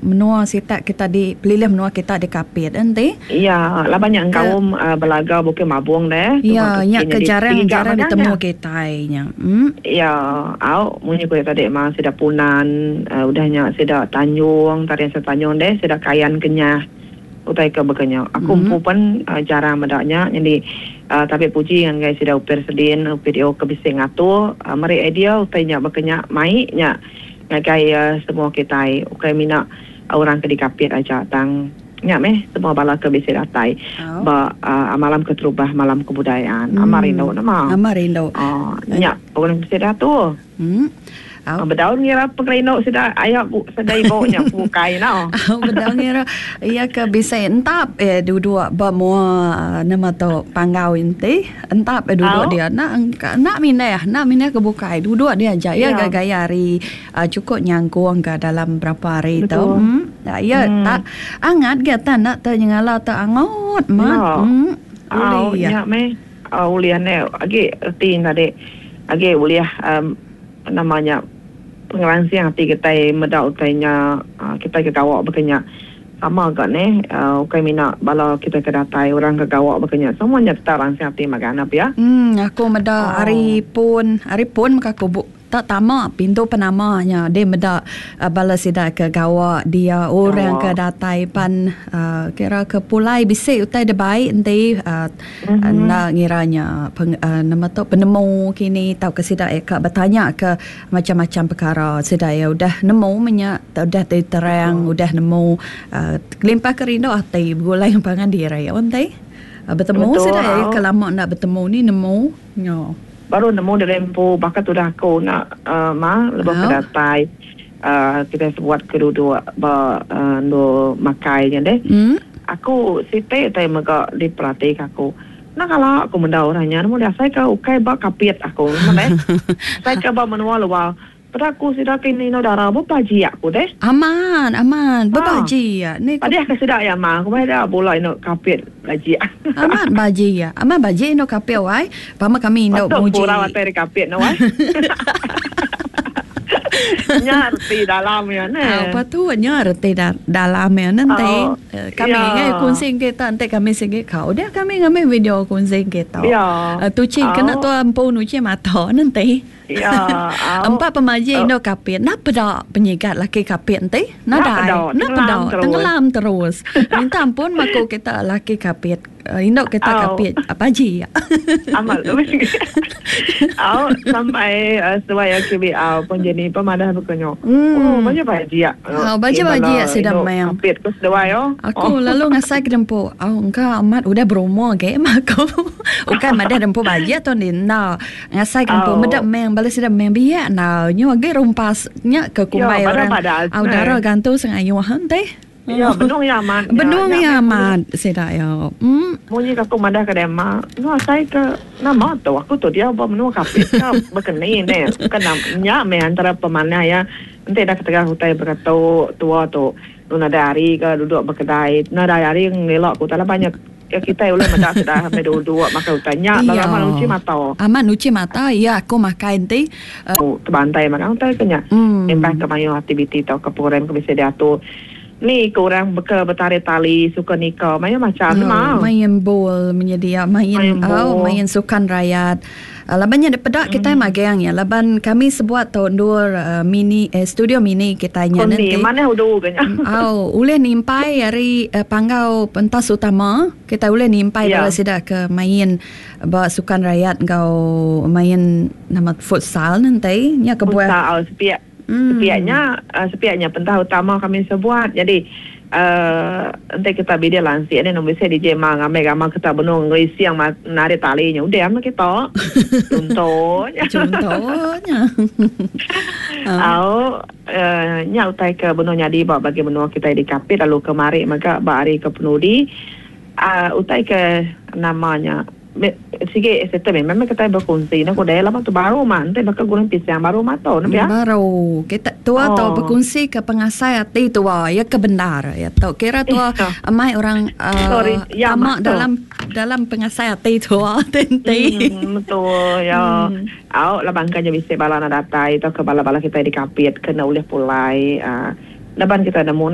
menua sitak kita di pelilih menua kita di Kapit enti. Iya, laban nya engkaum Belaga Bukit Mabong deh. Iya, nya ke jarang-jarang ditemu kitai nya. Iya, au munyi ku iya tadi mah sida Punan, udah nya sida Tanjung, tarian sida Tanjung deh, sida Kayan Kenyah. Utai ke baka nya. Aku empu pen jarang meda nya nyadi tabi puji ngagai sida Upir Sedin, Upir Io ke bisi ngatur meri idea utai nya baka nya mai nya ngagai semua kitai ukai mina orang ke dikapit aja tang nya meh semua bala ke bisi datai ba malam keterubah malam kebudayaan. Amat rindu nama. Amat rindu. Nya orang bisi diatur. Au. Bedau ngira pengerindu sida aya sida ibu nya bukai no. Au bedau ngira iya ke bisi entap eh duduk ba mua nama tu panggau enti entap eh duduk dia enda enda mindah enda mindah ke bukai duduk dia aja iya ga gaya hari chukup nyangkung ka dalam berapa hari tu. Iya tak angat ga tan enda te nyengala te angut mat. Au nya meh. Ulih enda agi reti tadi agi ulih nama nya pengeransing ati kitai meda utai nya kitai ke gawa baka nya sama ga neh ukai mina bala kitai ke datai orang ke gawa baka nya semua nya tetap ransing ati magang enda pia. Aku meda ari pun ari pun mega aku Tak tama pintu penama nya deh meda bala sida ke gawa dia orang ke datai pan kira ke pulai bisi utai da bai enti enda ngira nya nama tu penemu kini tauka sida iya ka betanya ke macam-macam perkara sida iya udah nemu meh nya udah diterang udah nemu kelimpah ke rindu ati begulai ngan pangan diri enti betemu sida iya ke lama enda betemu ni nemu nya. Baru nemu diri empu baka tudah aku enda ma lebuh ke datai kitai sebuat ke duduk ba endur makai nya deh. Aku siti utai mega diperatika aku. Enda kala aku meda orang nya nemu deh asai ke ukai ba kapit aku nemu deh. Asai ke ba menua luar. Peda aku sida ke indu dara bebajik aku deh. Amat amat bebajik ni. Padih ke sida iya mah aku meh bula indu kapit bajik. Amat bajik amat bajik indu kapit wai pama kami indu muji. Patut purau atai ari kapit ne wai. Nya reti dalam iya neh. Au patut nya reti dalam iya neh enti kami ngai kunsi kita enti kami sigi kau dia kami ngambi video kunsi kita. Tuchi kena tua empu nuchi mata neh enti. Ya, au. Empa pemajik indu kapit enda peda penyigat laki kapit enti nadai. Enda peda tenggelam terus. Minta ampun meh aku kita laki kapit indu kita kapit pajik. Amat au sampai seduai KBL pun jadi pemadah baka nya. Oh baju bajik. Au baju bajik sida meng. Kapit ku seduai oh. Aku lalu ngasai ke dempu au engka amat udah berumur agi meh aku. Ukai madah dempu bajik tu enda. Ngasai ke empu meda meng bala sida meng biak enggau nyu agi rumpas nya ke kumbai orang au dara gantu sengayuh enti. Ya benung iya amat. Benung iya amat sida iya. Munyi ke aku madah ke dema nu asai ke nama tu aku tu diau ba menua Kapit ka bekeni ne bukan nya meh antara pemanah iya enti dah ketegal utai baka tu tua tu nu nadai hari ke duduk bekedai nadai hari ngela ke utai laban nya Ya kitai ulih meda sida meh duduk makai utai nya lalu amat nuchi mata. Amat nuchi mata iya aku makai enti. Tebantai makai utai ke nya. Ngimbah ke mayuh aktiviti tauka program ke bisi diatur. Ni ke orang beka betarit tali suka nika mayuh macham nema. Main bol menyedia main au main sukan rayat. Laban nya dipeda kitai magang iya laban kami sebuat tu endur mini studio mini kitai nya nenti. Manah udu ga nya. Au ulih nimpai ari panggau pentas utama kitai ulih nimpai bala sida ke main ba sukan rayat enggau main nama futsal nenti nya kebuah. Futsal sepiak sepiak nya sepiak nya pentas utama kami sebuat jadi uhh enti kita bidik lansik ni bisi DJ ma ngambi gambar kita benung ngerising narit tali nya udah meh kita chunto nya. Chunto nya. Au uhh nya utai ke benung nyadi ba bagi menua kitai di Kapit lalu kemari mega ba hari ke penudi uhh utai ke nama nya. Sigi settle meh meh kitai bekunsi ne kudai laban tu baru mah enti baka gulung pisang baru mah tu ne pia. Baru kita tua tu bekunsi ke pengasai ati tua iya ke bendar iya tu kira tua amai orang uhh tama dalam dalam pengasai ati tua ti enti. Betul iya au laban ka nya bisi bala ne datai tauka bala bala kitai di kapit ke enda ulih pulai uhh laban kitai nemu.